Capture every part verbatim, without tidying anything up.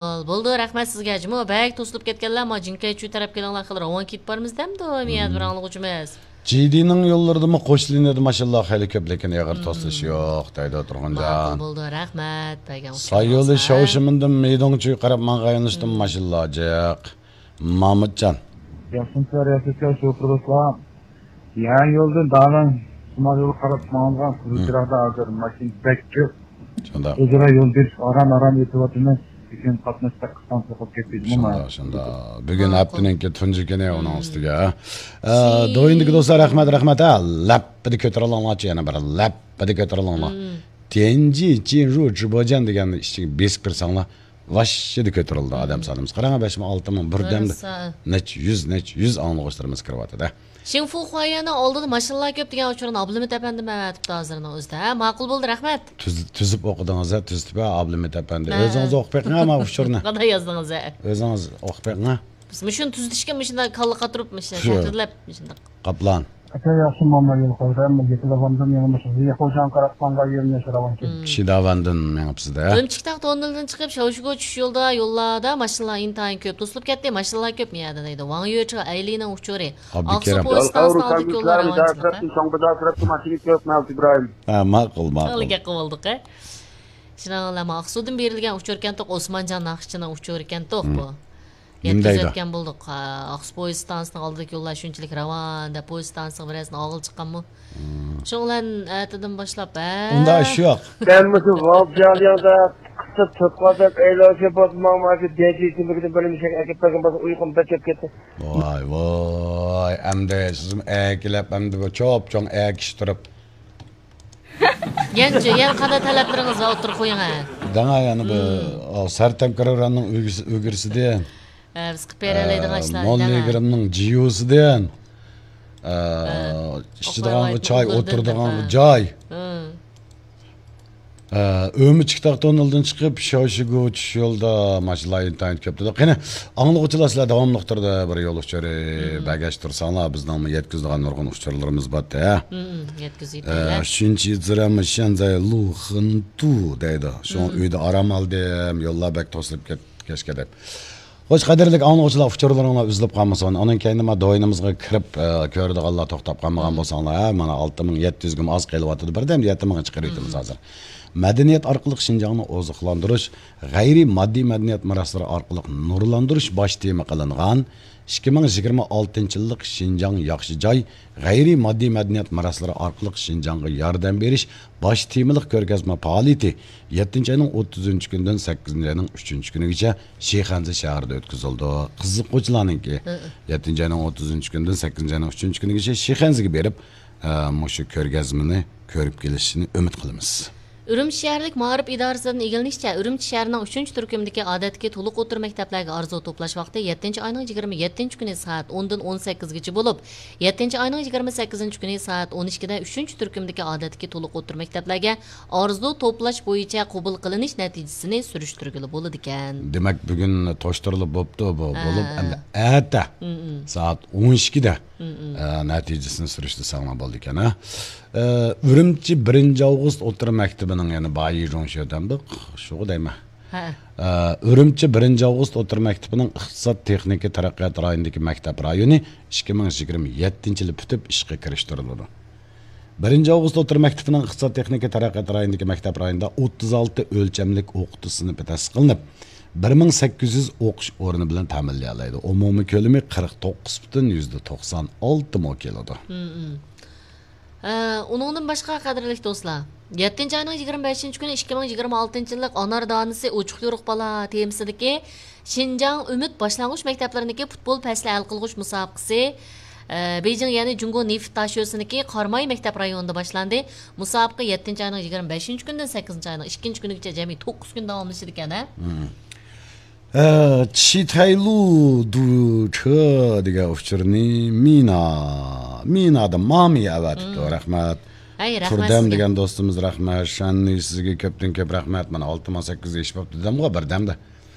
بولدى، رەھمەت سىزگە. جۇمۇ بەك توسۇلۇپ كەتكەنلەر، ما جىڭكەيچۈ تەرەپ كېلىڭلار، خېلى راۋان كېتىپ بارىمىز دەمدۇ، مىيەدە بىر ئاڭلىغۇچىمىز. جىدىنىڭ يوللىرىدىمۇ قوش لىنىيەدە ماشىنىلار خېلى كۆپ، لېكىن ئېغىر توسۇلۇش يوق، دەيدۇ تۇرغۇنجان. ماقۇل بولدى، رەھمەت بەرگەن ئۇچۇرىڭىزغا. سايولى شاۋشىمىندىن مىدوڭچۈگە قاراپ ماڭغان يۆنىلىشتىمۇ ماشىنىلار جىق. مامۇتجان. ياخشىمۇسىلەر، ياخشىمۇسىلەر، شوپۇر دوستلار؟ يەنە يولدىن دالان شىمال يولغا قاراپ ماڭغان قىزىل چىراغدا ھازىر ماشىنا بەك كۆپ. شۇنداق. ئۆزئارا يول بېرىش ئاران-ئاران ئۆتۈۋاتىمىز. لېكىن قاتناش بەك قىستاڭ سوقۇپ كەتتى. شۇنداق، شۇنداق. بۈگۈن ھەپتىنىڭكى تۇنجى كۈنى ئۇنىڭ ئۈستىگە. ئە، دويىندىكى دوستلار، رەھمەت، رەھمەت. ھە، لەپپىدە كۆتۈرۈلۈڭلارچۇ، يەنە بىر لەپپىدە كۆتۈرۈلۈڭلار. تيەنجى چىنرۇ جىبوجيەن دېگەننى ئىچىگە بېسىپ كىرسەڭلار، ۋاششىدە كۆتۈرۈلدى ئادەم سانىمىز. قاراڭ، بەش مىڭ، ئالتە مىڭ، بىردەمدە نەچچە يۈز، نەچچە يۈز ئاڭلىغۇچىلىرىمىز كىرىۋاتىدۇ. شىڭفۇ خۇايەننىڭ ئالدىدا ماشىنىلار كۆپ دېگەن ئۇچۇرنى ئابلىمىت ئەپەندىم ئەۋەتىپتۇ ھازىرنىڭ ئۆزىدە. ھە، ماقۇل بولدى، رەھمەت. تۈز-، تۈزۈپ ئوقۇدىڭىز ھە، تۈزىتىپ ھە، ئابلىمىت ئەپەندى. ھە. ئۆزىڭىز ئوقۇپ بېقىڭ ھە، ما ئۇچۇرنى. قانداق يازدىڭىز ھە؟ ئۆزىڭىز ئوقۇپ بېقىڭ ھە. بىز مۇشۇنى تۈزىتىشكە مۇشۇنداق كاللا قاتۇرۇپ، مۇشۇنداق شۇ. تەتۈرلەپ، مۇشۇنداق. قاپلان. ئاكا، ياخشى ماما يول قويدى. مەن يېتىلىۋالدىم، يەنە مۇشۇ زىيا خوجاڭغا قاراپ ماڭغان يولنى ياشىراۋان كېلىپ. شىداۋاندىن مېڭىپسىز-دە. ئۈرۈمچى كىتاب توننېلىدىن چىقىپ، شاۋشىگۇ چۈشۈش يولىدا، يوللاردا ماشىنىلار ئىنتايىن كۆپ. توسۇلۇپ كەتتى، ماشىنىلار كۆپ مۇ يەردە دەيدۇ. ۋاڭ يۈچې ئەيلىنىڭ ئۇچۇرى. ئابدۇكېرىم. ئاقسۇ پويىستانسىنىڭ ئالدىدىكى يوللار راۋان چىقىپ. ھە، ماقۇل، ماقۇل. شۇنىڭ بىلەن ئاقسۇدىن بېرىلگەن ئۇچۇركەنتۇق ئوسمانجان ناخشىچىنىڭ ئۇچۇرىكەنتۇق بۇ. نېمە دەيدۇ؟ يەتكۈزۈۋەتكەن بولدۇق. ئاقسۇ پويىز ئىستانسىسىنىڭ ئالدىدىكى يوللار شۇنچىلىك راۋان دەپ، پويىز ئىستانسىسىغا بىرەرسىنى ئالغىلى چىققانمۇ؟ شۇنىڭ بىلەن ئەتىدىن باشلاپ، ھە؟ ئۇنداق ئىش يوق. سەن مۇشۇ ۋاۋ جياڭلياڭدا قىسىپ تۆت قاتەك ئەيلەنسە بولسا، ماڭا مانا شۇ دەنجى ئىچىملىكىدىن بىر نېمە ئىچەي ئەكەپ بەرگىن بولسا، ئۇيقۇم بەك كەپ كەتتى. ۋاي، ۋاي، ئەمدى سىزمۇ ئەكىلەپ، ئەمدى بۇ چوپ-چوڭ ئەكىشتۈرۈپ. يەنىچۇ، يەنە قانداق تەلەپلىرىڭىز بار، ئوتتۇرىغا قويۇڭ ھە. دەڭا يەنە بىر، ئا، سەرتەم كرىراننىڭ ئۆگىسى-، ئۆگرىسىدىن. ھە، بىز قىلىپ بېرەلەيدىغان ئىشلار دەڭا. موللا ئىگرىمنىڭ جىيۇسىدىن. ئا، ئىچىدىغانغا چاي، ئولتۇرىدىغانغا جاي. ئا، ئۈرۈمچى كىتاب توننېلدىن چىقىپ، شاۋشىگۇ چۈشۈش يولىدا ماشىنىلار ئىنتايىن كۆپ دېدۇق. قېنى، ئاڭلىغۇچىلار سىلەر داۋاملىق تۈردە بىر يول ئۇچۇرى بەرگەچ تۇرساڭلار، بىزنىڭمۇ يەتكۈزىدىغان نۇرغۇن ئۇچۇرلىرىمىز بار-دە. ئە، شۇنچە يىلدىن شەنزەي لۇخېنتۇ دەيدۇ. شۇڭا ئۆيدە ئارام ئالدىم، يوللار بەك توسۇلۇپ كەتكەچكە دەپ. خوش، قەدىرلىك ئاڭلىغۇچىلار، ئۇچۇرلىرىڭلار ئۈزۈلۈپ قالمىسۇن. ئانىڭ كەينىدە ما دوينىمىزغا كىرىپ، ئە، كۆرىدىغانلار توختاپ قالمىغان بولساڭلار، ھە، مانا ئالتە مىڭ يەتتە يۈزگىمۇ ئاز قېلىۋاتىدۇ. بىردەمدە يەتتە مىڭغا چىقىرىۋېتىمىز ھازىر. مەدەنىيەت ئارقىلىق شىنجاڭنى ئوزۇقلاندۇرۇش، غەيرىي ماددىي مەدەنىيەت مىراسلىرى ئارقىلىق نۇرلاندۇرۇش باش تېما قىلىنغان ئىككى مىڭ يىگىرمە ئالتىنچى يىللىق شىنجاڭ ياخشى جاي، غەيرىي ماددىي مەدەنىيەت مىراسلىرى ئارقىلىق شىنجاڭغا ياردەم بېرىش باش تېمىلىق كۆرگەزمە پائالىيىتى يەتتىنچى ئاينىڭ ئوتتۇزىنچى كۈنىدىن سەككىزىنچى ئاينىڭ ئۈچىنچى كۈنىگىچە شىخەنزە شەھىرىدە ئۆتكۈزۈلىدۇ. قىزىققۇچىلارنىڭكى يەتتىنچى ئاينىڭ ئوتتۇزىنچى كۈنىدىن سەككىزىنچى ئاينىڭ ئۈچىنچى كۈنىگىچە شىخەنزىگە بېرىپ، ئە، مۇشۇ كۆرگەزمىنى كۆرۈپ كېلىشىنى ئۈمىد قىلىمىز. ئۈرۈمچى شەھەرلىك مائارىپ ئىدارىسىدىن ئىگىلىنىشىچە، ئۈرۈمچى شەھىرىنىڭ ئۈچىنچى تۈركۈمدىكى ئادەتتىكى تولۇق ئوتتۇرا مەكتەپلەرگە ئارزۇ توپلاش ۋاقتى يەتتىنچى ئاينىڭ يىگىرمە يەتتىنچى كۈنى سائەت ئوندىن ئون سەككىزگىچە بولۇپ، يەتتىنچى ئاينىڭ يىگىرمە سەككىزىنچى كۈنى سائەت ئون ئىككىدە ئۈچىنچى تۈركۈمدىكى ئادەتتىكى تولۇق ئوتتۇرا مەكتەپلەرگە ئارزۇ توپلاش بويىچە قوبۇل قىلىنىش نەتىجىسىنى سۈرۈشتۈرگىلى بولىدىكەن. دېمەك، بۈگۈن توشتۇرۇلۇپ بوپتۇ بۇ. ھە. بولۇپ، ئەمدى ئەتە سائەت ئون ئىككىدە ئە، نەتىجىسىنى سۈرۈشتۈرسەڭلار بولىدىكەن، ھە. ئە، ئۈرۈمچى بىرىنچى ئاۋغۇست ئوتتۇرا مەكتىپىنىڭ، يەنى بايىجۇڭشې دەمدۇق، شۇغۇ دەيمەن. ھە. ئە، ئۈرۈمچى بىرىنچى ئاۋغۇست ئوتتۇرا مەكتىپىنىڭ ئىقتىساد تېخنىكا تەرەققىيات رايونىدىكى مەكتەپ رايونى ئىككى مىڭ يىگىرمە يەتتىنچى يىلى پۈتۈپ ئىشقا كىرىشتۈرۈلىدۇ. بىرىنچى ئاۋغۇست ئوتتۇرا مەكتىپىنىڭ ئىقتىساد تېخنىكا تەرەققىيات رايونىدىكى مەكتەپ رايونىدا ئوتتۇز ئالتە ئۆلچەملىك ئوقۇتۇش سىنىپى تەسىس قىلىنىپ، بىر مىڭ سەككىز يۈز ئوقۇش ئورنى بىلەن تەمىنلىيەلەيدۇ. ئومۇمىي كۆلىمى قىرىق توققۇز پۈتۈن يۈزدە توقسان ئالتە مو كېلىدۇ. ھە، ئۇنىڭدىن باشقا، قەدىرلىك دوستلار، يەتتىنچى ئاينىڭ يىگىرمە بەشىنچى كۈنى ئىككى مىڭ يىگىرمە ئالتىنچى يىللىق ئانار دانىسى ئوچۇق يورۇق بالا تېمىسىدىكى شىنجاڭ ئۈمىد باشلانغۇچ مەكتەپلىرىنىڭكى پۇتبول پەسلى ھەل قىلغۇچ مۇسابىقىسى، ئە، بېيجىڭ، يەنى جۇڭگو نېفىت داشۆسىنىڭكى قاراماي مەكتەپ رايونىدا باشلاندى. مۇسابىقە يەتتىنچى ئاينىڭ يىگىرمە بەشىنچى كۈنىدىن سەككىزىنچى ئاينىڭ ئىككىنچى كۈنىگىچە جەمئىي توققۇز كۈن داۋاملىشىدىكەن، ھە؟ ئە، چىتەيلۇ دۇچې دېگەن ئۇچۇرنى مىنا، مىنا دە مامى ئەۋەتىپتۇ. رەھمەت. ھەي، رەھمەت تۇردەم سىزگە. دېگەن دوستىمىز رەھمەت. شەننى سىزگە كۆپتىن كۆپ رەھمەت. مانا ئالتە مىڭ سەككىز يۈز ئېشىپ بوپتۇ دېدىمغۇ بىردەمدە.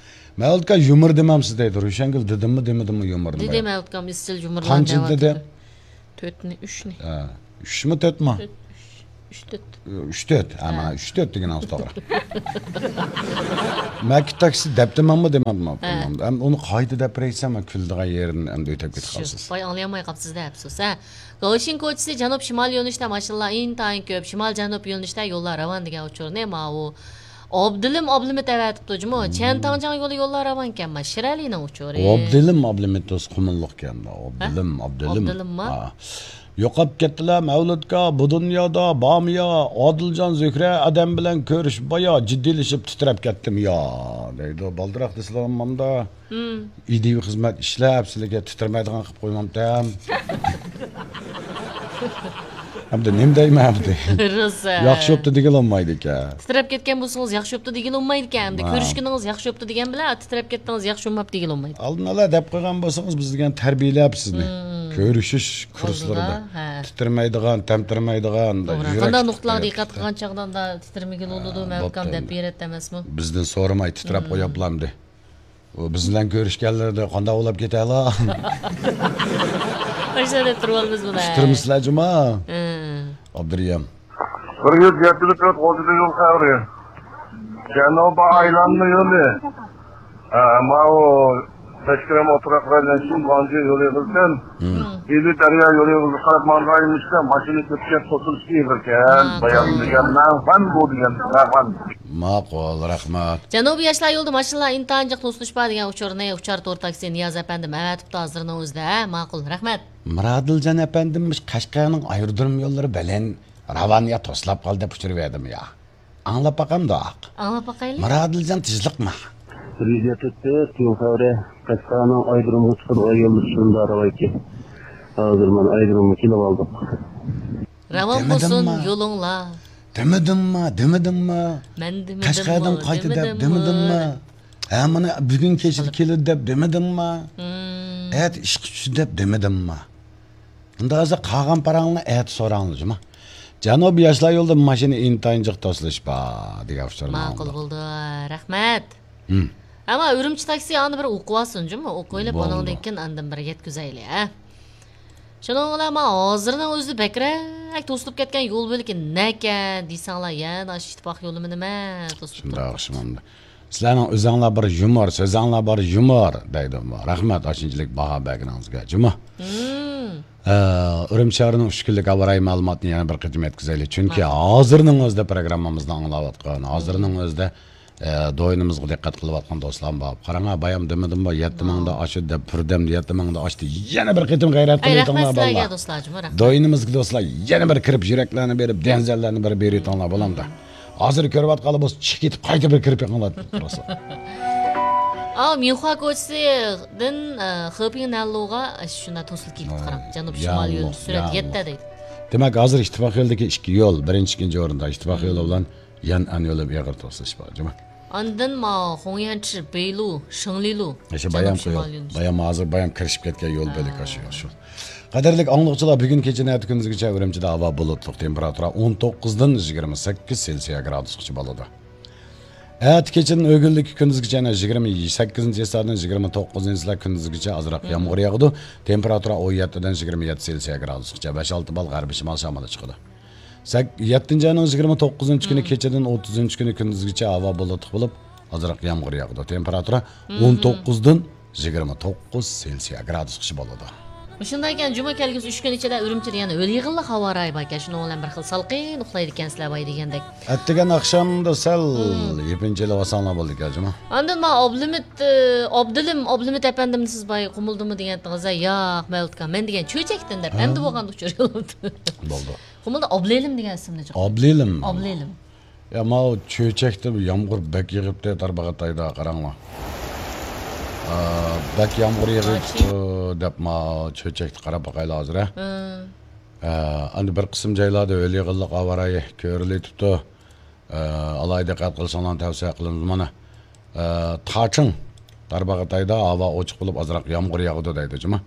مەۋلۇت ئاكا يۇمۇر دېمەمسىز دەيدۇ. روشەنگۈل دېدىممۇ دېمىدىممۇ يۇمۇرنى دېدى، مەۋلۇت ئاكام ئىزچىل يۇمۇرلار قانچىنى دېدى؟ تۆتنى، ئۈچنى. ھە، ئۈچمۇ، تۆتمۇ؟ تۆت، ئۈچ. ئۈچ تۆت. ئۈچ تۆت. ھە، مانا ئۈچ تۆت دېگىنىڭىز توغرا. مەكىت تاكسى دەپتىمەنمۇ دېمەپتىمەن. ھە. ئەم، ئۇنى قايتا دەپ بېرەيسەن، مەن كۈلىدىغان يېرىدىن ئەمدى ئۆتۈپ كېتىپ قالىسىز. باي ئاڭلىيالماي قاپسىز-دە، ئەپسۇس، ھە. گاۋشىن كوچىسى جەنۇب شىمال يۆنىلىشتە ماشىنىلار ئىنتايىن كۆپ، شىمال جەنۇب يۆنىلىشتە يوللار راۋان دېگەن ئۇچۇرنى ماۋۇ ئابدۇلىم ئابلىمىت ئەۋەتىپتۇ جۇمۇ. چيەنتاڭجياڭ يولى يوللار راۋانكەن، ما شىرئەلىنىڭ ئۇچۇرى. ئابدۇلىم ئابلىمىت دوست قۇمۇللۇقكەن. ھە؟ ئابدۇلىم، ئابدۇلىم. ئابدۇلىمما؟ ھا. يوقاپ كەتتىلە مەۋلۇتكا، بۇ دۇنيادا بارمۇ يا؟ ئادىلجان زۆھرە ئادەم بىلەن كۆرۈشۈپ بايا، جىددىيلىشىپ تىترەپ كەتتىم يا، دەيدۇ. بالدۇراق دېسىلەم ماندا. مم. ئىدىيە خىزمەت ئىشلەپ، سىلىگە تىترىمەيدىغان قىلىپ قويمامتەم. ئەمدى نېمە دەيمەن ئەمدى؟ روزا. ياخشى بوپتۇ دېگىلى بولمايدىكەن. تىترەپ كەتكەن بولسىڭىز، ياخشى بوپتۇ دېگىلى بولمايدىكەن. ئەمدى ھە. كۆرۈشكىنىڭىز ياخشى بوپتۇ دېگەن بىلەن، تىترەپ كەتتىڭىز، ياخشى بولماپتۇ دېگىلى بولمايدۇ. ئالدىن ئالا دەپ قويغان بولسىڭىز، بىز دېگەن تەربىيەلەپ سىزنى. مم. كۆرۈشۈش كۇرسلىرىدا. ئالدىدا، ھە. تىترىمەيدىغان، تەمتىرىمەيدىغان، توغرا. يۈرەك قانداق نۇقتىلارغا دىققەت قىلغان چاغدا ئۇنداق تىترىمىگىلى بولىدۇ، ھە، مەۋلۇتكام دەپ بېرەتتى ئەمەسمۇ؟ بىزدىن سورىماي تىترەپ قويۇپلامدى. ئۇ بىز بىلەن كۆرۈشكەنلىرىدە قانداق بولۇپ كېتەلا؟ ئاشۇنداق دەپ تۇرۇۋالىمىز بۇنى. پىكىرمىسىلەر جۇما. ھە. ئابدۇرېھىم. بىر يۈز يەتتە تۆت ئوتتۇز يول خەۋىرى. جەنۇبىي ئايلانما يولى. ھە، ماۋۇ بەشكىرەم ئوتراق بىلەن شىنۋاڭجى يولى قىلسام، مم. ئىلى دەريا يولى قىلسا قاراپ ماڭغان ئىمىشكە ماشىنا كۆپكەن توسۇلۇش ئېغىركەن. ھە، بايام توغرا. دېگەن مەن بۇ دېگەن مەن. ماقۇل، رەھمەت. جەنۇبىي ياشلار يولىدا ماشىنىلار ئىنتايىن جىق توسۇلۇش بار دېگەن ئۇچۇرنى ئۇچار تور تاكسى نىياز ئەپەندىم ئەۋەتىپتۇ ھازىرنىڭ ئۆزىدە. ھە، ماقۇل، رەھمەت. مۇرادىلجان ئەپەندىم، مۇشۇ قەشقەرنىڭ ئايرودروم يوللىرى بەلەن راۋان يا توسلاپ قالدى دەپ ئۇچۇر بەردىم يا. ئاڭلاپ باقامدۇق؟ ئاڭلاپ باقايلى. مۇرادىلجان تېزلىقما؟ بىر يۈز يەتتە تۆت يول خەۋىرى. قەشقەرنىڭ ئايرودرومغا چىقىدىغان يوللىرى شۇنداق راۋايكى. ھازىر مانا ئايرودرومغا كېلىۋالدۇق. راۋان بولسۇن دېمىدىمما؟ يولۇڭلار. دېمىدىمما؟ دېمىدىمما؟ مەن دېمىدىممۇ؟ قەشقەردىن قايتا دەپ دېمىدىممۇ؟ دېمىدىمما؟ ھە، مانا بۈگۈن كەچتە كېلىدۇ دەپ دېمىدىمما؟ مم. ئەتە ئىشقا چۈشتى دەپ دېمىدىمما؟ ئەمدى ھازىر قالغان پاراڭلارنى ئەتە سوراڭلار جۇما. جەنۇبىي ياشلار يولىدا ماشىنا ئىنتايىن جىق توسۇلۇش بار دېگەن ئۇچۇرنى ماقۇل ئاڭلىدۇق. بولدى. رەھمەت. ھىم. ئەمما ئۈرۈمچى تاكسى ئانا بىر ئوقۇۋالسۇن جۇمۇ. ئوقۇۋېلىپ، بولدى. ئۇنىڭدىن كېيىن ئاندىن بىر يەتكۈزەيلى، ھە. شۇنىڭ بىلەن مانا ھازىرنىڭ ئۆزىدە بەكرەك توسۇلۇپ كەتكەن يول بۆلىكى نەكە دېسەڭلار، يەنە ئاشۇ ئىتتىپاق يولىمۇ نېمە توسۇلۇپ شۇنداق، تۇرۇپتۇ. شۇنداق. سىلەرنىڭ ئۆزەڭلار بىر يۇمۇر، سۆزەڭلار بار يۇمۇر دەيدۇ. رەھمەت، ئاشۇنچىلىك باھا بەرگىنىڭىزگە جۇما. مم. ئە، ئۈرۈمچى شەھىرىنىڭ ئۈچ كۈنلۈك ھاۋا رايى مەلۇماتىنى يەنە بىر قېتىم يەتكۈزەيلى. چۈنكى ھازىرنىڭ ئۆزىدە پروگراممىمىزنى ئاڭلاۋاتقان، ھازىرنىڭ ئۆزىدە، ئە، دوينىمىزغا دىققەت قىلىۋاتقان دوستلار بار. قاراڭا، بايام دېمىدىممۇ، يەتتە مىڭدا ئاشۇ دەپ، بىردەمدە يەتتە مىڭدا ئاشتى. يەنە بىر قېتىم غەيرەت قىلىۋېتىڭلار، بالىلار. رەھمەت سىلەرگە، دوستلار جۇما، رەھمەت. دوينىمىزغا دوستلار، يەنە بىر كىرىپ يۈرەكلەرنى بېرىپ، دەنزەللەرنى بىر بېرىۋېتىڭلار، بولامدا. ھازىر كۆرۈۋاتقانلار بولسا چىقىپ كېتىپ قايتا بىر كىرىپ بېقىڭلار. ئاۋۇ مىنخۇا كوچىسىدىن، ئە، خېپىڭ نەنلۇغا شۇنداق توسۇلۇپ كېتىپتۇ، قاراڭ. جەنۇب شىمال يول سۈرئەت يەتتە دەيدۇ. دېمەك، ھازىر ئىتتىپاق يولىدىكى ئىككى يول، بىرىنچى، ئىككىنچى ئورۇندا ئىتتىپاق يولى بىلەن يەنئەن يولى ئېغىر توسۇلۇش بار، جۇما. ئاندىن ماۋۇ خۇڭيەنچى بېيلۇ، شېڭلىلۇ. ئاشۇ بايام جەنۇب شىمال يول. بايام ھازىر بايام كىرىشىپ كەتكەن يول بۆلىكى ئاشۇ يول شۇ. قەدىرلىك ئاڭلىغۇچىلار، بۈگۈن كېچىدىن ئەتە كۈندۈزگىچە ئۈرۈمچىدە ھاۋا بۇلۇتلۇق، تېمپېراتۇرا ئون توققۇزدىن يىگىرمە سەككىز سېلسىيە گرادۇسقىچە بولىدۇ. ئەتە كېچىدىن ئۆگۈنلۈككە كۈندۈزگىچە يەنە يىگىرمە سەككىزىنچى ھېسابتىن يىگىرمە توققۇزىنچى ھېساب كۈندۈزگىچە ئازراق يامغۇر ياغىدۇ. تېمپېراتۇرا ئون يەتتىدىن يىگىرمە يەتتە سېلسىيە گرادۇسقىچە، بەش ئالتە بال غەربىي شىمال شامىلى چىقىدۇ. سەك-، يەتتىنچى ئاينىڭ يىگىرمە توققۇزىنچى كۈنى كېچىدىن ئوتتۇزىنچى كۈنى كۈندۈزگىچە ھاۋا بۇلۇتلۇق بولۇپ، ئازراق يامغۇر ياغىدۇ. تېمپېراتۇرا ئون توققۇزدىن يىگىرمە توققۇز سېلسىيە گرادۇسقىچە بولىدۇ. مۇشۇنداق ئىكەن، جۈمە كەلگۈسى ئۈچ كۈن ئىچىدە ئۈرۈمچىدە يەنە ھۆل يېغىنلىق ھاۋا رايى باركەن، شۇنىڭ بىلەن بىر خىل سالقىن ئۇخلايدىكەنسىلەر باي دېگەندەك. ئەتىگەن ئاخشامدا سەل يېپىنچىلىۋالساڭلار بولىدىكەن، جۇما. ئاندىن ما ئابلىمىت، ئە، ئابدىلىم، ئابلىمىت ئەپەندىمنى سىز باي قۇمۇلدىمۇ دېگەنتىڭىز، ياق، مەۋلۇتكا، مەن دېگەن چۆچەكتىن دەپ، ئەمدى بولغاندا ئۇچۇر يولۇپتۇ. بولدى. قۇمۇلدا ئابلىلىم دېگەن ئىسىمنى چىقىردى. ئابلىلىم. ئابلىلىم. يا، ماۋۇ چۆچەكتە يامغۇر بەك يېغىپتۇ، تارباغاتايدا، قاراڭلار. ئا، بەك يامغۇر يېغىپتۇ دەپ، ما، چۆچەكتە قاراپ باقايلى ھازىر، ھە؟ ھە. ئا، ئەمدى بىر قىسىم جايلاردا ھۆل يېغىنلىق ھاۋا رايى كۆرۈلۈۋېتىپتۇ. ئا، ئالاھىدە دىققەت قىلساڭلار تەۋسىيە قىلىمىز مانا. ئە، تاچىڭ، تارباغاتايدا ھاۋا ئوچۇق بولۇپ، ئازراق يامغۇر ياغىدۇ دەيدۇ، جۇما.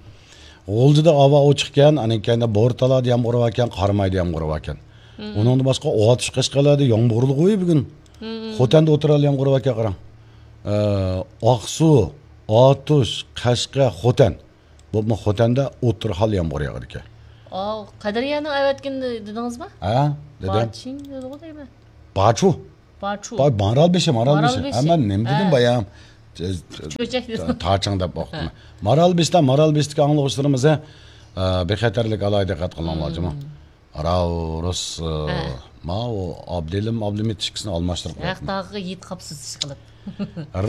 غۇلجىدا ھاۋا ئوچۇقكەن، ئاندىن كېيىن بورتالادا يامغۇر باركەن، قارامايدا يامغۇر باركەن. ئۇنىڭدىن باشقا ئاتۇش قەشقەرلەردە يامغۇرلۇق ئوي بۈگۈن. خوتەندە ئوتتۇرا يامغۇر باركەن، قاراڭ. ئە، ئاقسۇ، ئاتۇش، قەشقەر، خوتەن. بولۇپمۇ خوتەندە ئوتتۇرا خىل يامغۇر ياغىدىكەن. ئاۋۇ قەدرىيەنىڭ ئەۋەتكىنى دېدىڭىزمۇ؟ ھە، دېدىم. باچىڭ دېدىغۇ دەيمەن. باچۇ. باچۇ. باي، مارالبېشى، مارالبېشى. مارالبېشى. ھە، مەن نېمە دېدىم ھە. بايام؟ چۆچەك دېدىم. تاچىڭ دەپ ئوقۇدۇم. ھە. مارالبېشىدا، مارالبېشىدىكى ئاڭلىغۇچىلىرىمىز، ھە، بىخەتەرلىك ئالاھىدە دىققەت قىلىڭلار، جۇمۇ. راۋ رۇس، ھە. ماۋۇ ئابدىلىم، ئابدۇلمىت ئىككىسىنى ئالماشتۇرۇپ قويۇپتىمەن. ھەق تاغىغا يېتىپ قاپسىز ئىشقىلىپ.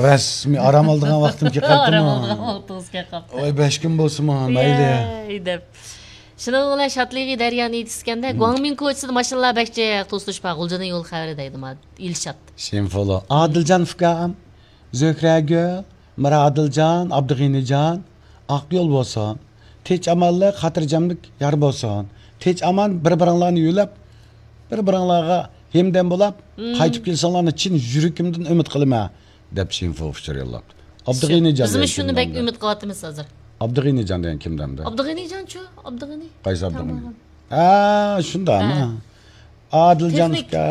رەسمىي ئارام ئالىدىغان ۋاقتىم كېلىپ قاپتىمۇ؟ ئارام ئالىدىغان ۋاقتىڭىز كېلىپ قاپتۇ. ۋاي، بەش كۈن بولسىمۇ، مەيلى. يەي دەپ. شۇنىڭ بىلەن شادلىقى دەريانى يېتىشكەندە، گۇاڭمىڭ كوچىسىدا ماشىنىلار بەك جىق توسۇلۇش بار. غۇلجىنىڭ يول خەۋىرى دەيدۇ، ما، ئىلشات. شىنفۇلۇ، ئادىلجان ئۇكام، زۆھرەگۈل، مىرادىلجان، ئابدۇغېنىجان، ئاق يول بولسۇن. تىنچ ئامانلىق، خاتىرجەملىك يار بولسۇن. تىنچ ئامان بىر-بىرىڭلارنى يۆلەپ، بىر-بىرىڭلارغا ھەمدەم بولاپ، قايتىپ كېلىشىڭلارنى چىن يۈرىكىمدىن ئۈمىد قىلىمەن، دەپ شىنفۇ ئۇچۇر يوللاپتۇ. ئابدۇغېنىجان بىزمۇ دېگەن شۇنى بەك ئۈمىد قىلىۋاتىمىز ھازىر. ئابدۇغېنىجان دېگەن كىم دەمدە؟ ئابدۇغېنىجانچۇ؟ ئابدۇغېنى؟ قايسى ئابدۇغېنى؟ ھە، شۇنداقمۇ؟ ھە. ئادىلجان ئۇكا.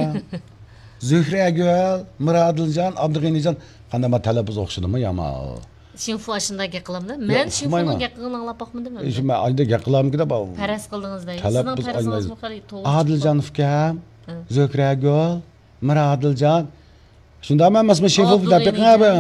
زۆھرەگۈل، مىرادىلجان، ئابدۇغېنىجان. قانداق، ما تەلەپپۇز ئوخشىدىمۇ يامان؟ شىنفۇ ئاشۇنداق گەپ قىلامدۇ. مەن شىنفۇنىڭ گەپ قىلغىنىنى ئاڭلاپ باقمىدىم ئەمدى. شۇ مەن ئايدا گەپ قىلامدىكىن دەپ. پەرەز قىلدىڭىز دەي. سىزنىڭ پەرىزىڭىزمۇ خېلى توغرا. ئادىلجان ئۇكام، زۆھرەگۈل، مىرادىلجان. شۇنداقمۇ ئەمەسمۇ، شىنفۇ دەپ بېقىڭ ئەبە.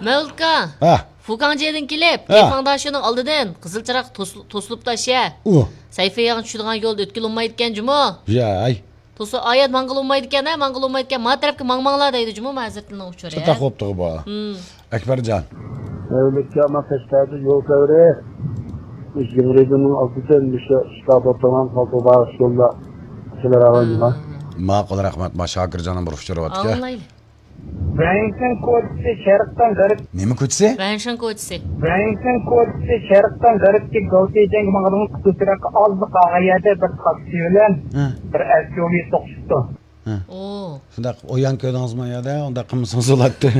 مەۋلۇتكا. ھە. فۇكاڭجيېدىن كېلىپ، ھە. كەيفاڭداشۇنىڭ ئالدىدىن قىزىل چىراغ توس-، توسۇلۇپتۇ ئاشە. ئۇ. سەيفىياڭ چۈشىدىغان يول ئۆتكىلى بولمايدىكەن جۇمۇ. ياي. توسۇ-، ئايات ماڭغىلى بولمايدىكەن، ھە، ماڭغىلى بولمايدىكەن. ما تەرەپكە ماڭماڭلار دەيدۇ جۇمۇ، مەزىرىتىنىڭ ئۇچۇرى. چاتاق بوپتۇغۇ بۇ. ئەكبەرجان. مەۋلۇتكا، ما قەشقەردە يول خەۋىرى. مۇشۇ يىغىۋېلىڭ ئالدىدىن مۇشۇ ئىشقا بولۇپ تۇرغان پالتو باغىش يولدا كېلىۋالغان جۇمۇ. ماقۇل، رەھمەت. ما شاكىرجاننىڭ بىر ئۇچۇرى باركەن. ئاڭلايلى. ۋەنشىن كوچىسى شەرقتىن غەرب. نېمە كوچىسى؟ ۋەنشىن كوچىسى. ۋەنشىن كوچىسى شەرقتىن غەربكە گاۋتىجيەنگە ماڭىدىغان قىزىل چىراغقا ئازلا قالغان يەردە بىر تاكسى بىلەن ھە. بىر ئەسيۇۋى توقۇشۇپتۇ. ھە. ئو. شۇنداق ئويان كۆردىڭىزمۇ يەردە؟ ئۇنداق قىلمىسىڭىز بولاتتى.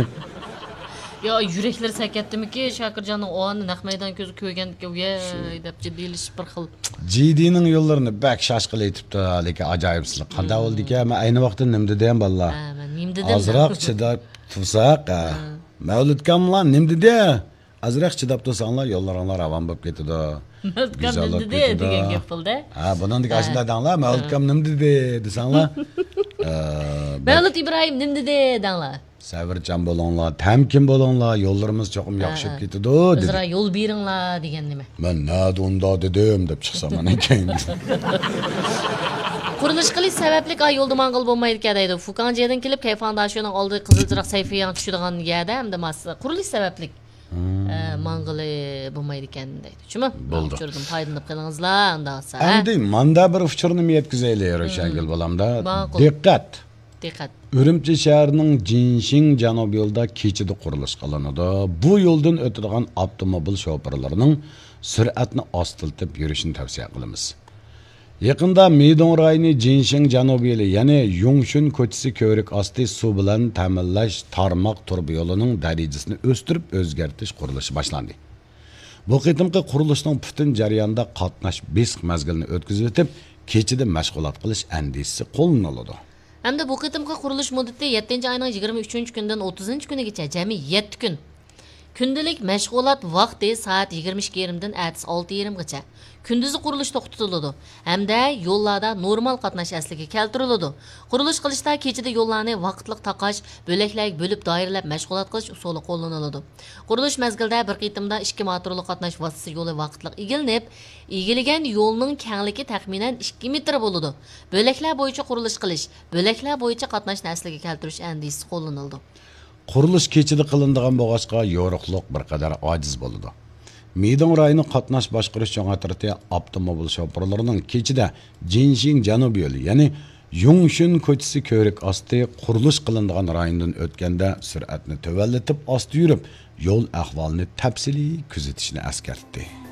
يا، يۈرەكلىرى سەكەتتىمىكى، شاكىرجاننىڭ ئۇ ئاننى نەق مەيدان كۆزى كۆرگەندىكىن، ۋەي دەپ جىددىيلىشىپ بىر خىل. جىدىنىڭ يوللىرىنى بەك شاش قىلىۋېتىپتۇ، لېكىن ئاجايىپسىلىك. قانداق بولدىكەن؟ مەن ئەينى ۋاقىتتا نېمە دېدىم، بالىلار؟ ھە، مەن نېمە دېدىم؟ ئازراق چىداپ تۇرساق، ھە. ھە. مەۋلۇتكاملار نېمە دېدى؟ ئازراق چىداپ تۇرساڭلار، يوللىرىڭلار راۋان بولۇپ كېتىدۇ. مەۋلۇتكام نېمە دېدى دېگەن گەپ بولدى. ھە، بۇنىڭدىكى ھە. ئاشۇنداق دەڭلار، مەۋلۇتكام نېمە دېدى دېسەڭلار. ئە، مەۋلۇت ئىبراھىم نېمە دېدى دەڭلار. سەۋرچان بولۇڭلار، تەمكىن بولۇڭلار، يوللىرىمىز چوقۇم ھە، ياخشىلىنىپ ھە. كېتىدۇ، دېدى. ئۆزئارا يول بېرىڭلار دېگەن نېمە؟ مەن نەدە ئۇنداق دېدىم، دەپ چىقسام ئاندىن كېيىن. قۇرۇلۇش قىلىش سەۋەبلىك، ئا، يولدا ماڭغىلى بولمايدىكەن دەيدۇ. فۇكاڭجيېدىن كېلىپ، كەيفاڭداشۇنىڭ ئالدى قىزىل چىراغ سەيفىياڭ چۈشىدىغان يەردە ئەمدى ماس قۇرۇلۇش سەۋەبلىك، ئە، ماڭغىلى بولمايدىكەن دەيدۇ. شۇمۇ؟ بولدى. ئۇچۇردىن پايدىلىنىپ قېلىڭىزلار، ئۇنداق بولسا، ھە؟ ئەمدى ماندا بىر ئۇچۇرنى يەتكۈزەيلى، روشەنگۈل بالامدا. ماقۇل. دىققەت! دىققەت. ئۈرۈمچى شەھىرىنىڭ جىنشىڭ جەنۇبىي يولىدا كېچىدە قۇرۇلۇش قىلىنىدۇ. بۇ يولدىن ئۆتىدىغان ئاپتوموبىل شوپۇرلىرىنىڭ سۈرئەتنى ئاستىلىتىپ يۈرۈشىنى تەۋسىيە قىلىمىز. يېقىندا مىدۇڭ رايونى جىنشىڭ جەنۇبىي يولى، يەنى يۇڭشۈن كوچىسى كۆۋرۈك ئاستى سۇ بىلەن تەمىنلەش تارماق تۇرۇبا يولىنىڭ دەرىجىسىنى ئۆستۈرۈپ ئۆزگەرتىش قۇرۇلۇشى باشلاندى. بۇ قېتىمقى قۇرۇلۇشنىڭ پۈتۈن جەريانىدا قاتناش بېسىق مەزگىلىنى ئۆتكۈزۈۋېتىپ، كېچىدە مەشغۇلات قىلىش ئەندىزىسى قوللىنىلىدۇ. ھەمدە بۇ قېتىمقى قۇرۇلۇش مۇددىتى يەتتىنچى ئاينىڭ يىگىرمە ئۈچىنچى كۈنىدىن ئوتتۇزىنچى كۈنىگىچە جەمئىي يەتتە كۈن. كۈندىلىك مەشغۇلات ۋاقتى سائەت يىگىرمە ئىككى يېرىمدىن ئەتىسى ئالتە يېرىمغىچە. كۈندۈزى قۇرۇلۇش توختىتىلىدۇ ھەمدە يوللاردا نورمال قاتناش ئەسلىگە كەلتۈرۈلىدۇ. قۇرۇلۇش قىلىشتا كېچىدە يوللارنى ۋاقىتلىق تاقاش، بۆلەكلەرگە بۆلۈپ دائىرىلەپ مەشغۇلات قىلىش ئۇسۇلى قوللىنىلىدۇ. قۇرۇلۇش مەزگىلىدە بىر قېتىمدا ئىككى ماتورلۇق قاتناش ۋاسىتىسى يولى ۋاقىتلىق ئىگىلىنىپ، ئىگىلىگەن يولنىڭ كەڭلىكى تەخمىنەن ئىككى مېتىر بولىدۇ. بۆلەكلەر بويىچە قۇرۇلۇش قىلىش، بۆلەكلەر بويىچە قاتناشنى ئەسلىگە كەلتۈرۈش ئەندىزىسى قوللىنىلىدۇ. قۇرۇلۇش كېچىدە قىلىنىدىغان بولغاچقا، يورۇقلۇق بىر قەدەر ئاجىز بولىدۇ. مىدۇڭ رايونى قاتناش باشقۇرۇش چوڭ ئەترىتى ئاپتوموبىل شوپۇرلىرىنىڭ كېچىدە جىنشىڭ جەنۇبىي يولى، يەنى يۇڭشۈن كوچىسى كۆۋرۈك ئاستى قۇرۇلۇش قىلىنىدىغان رايوندىن ئۆتكەندە سۈرئەتنى تۆۋەنلىتىپ ئاستا يۈرۈپ، يول ئەھۋالىنى تەپسىلىي كۆزىتىشنى ئەسكەرتتى.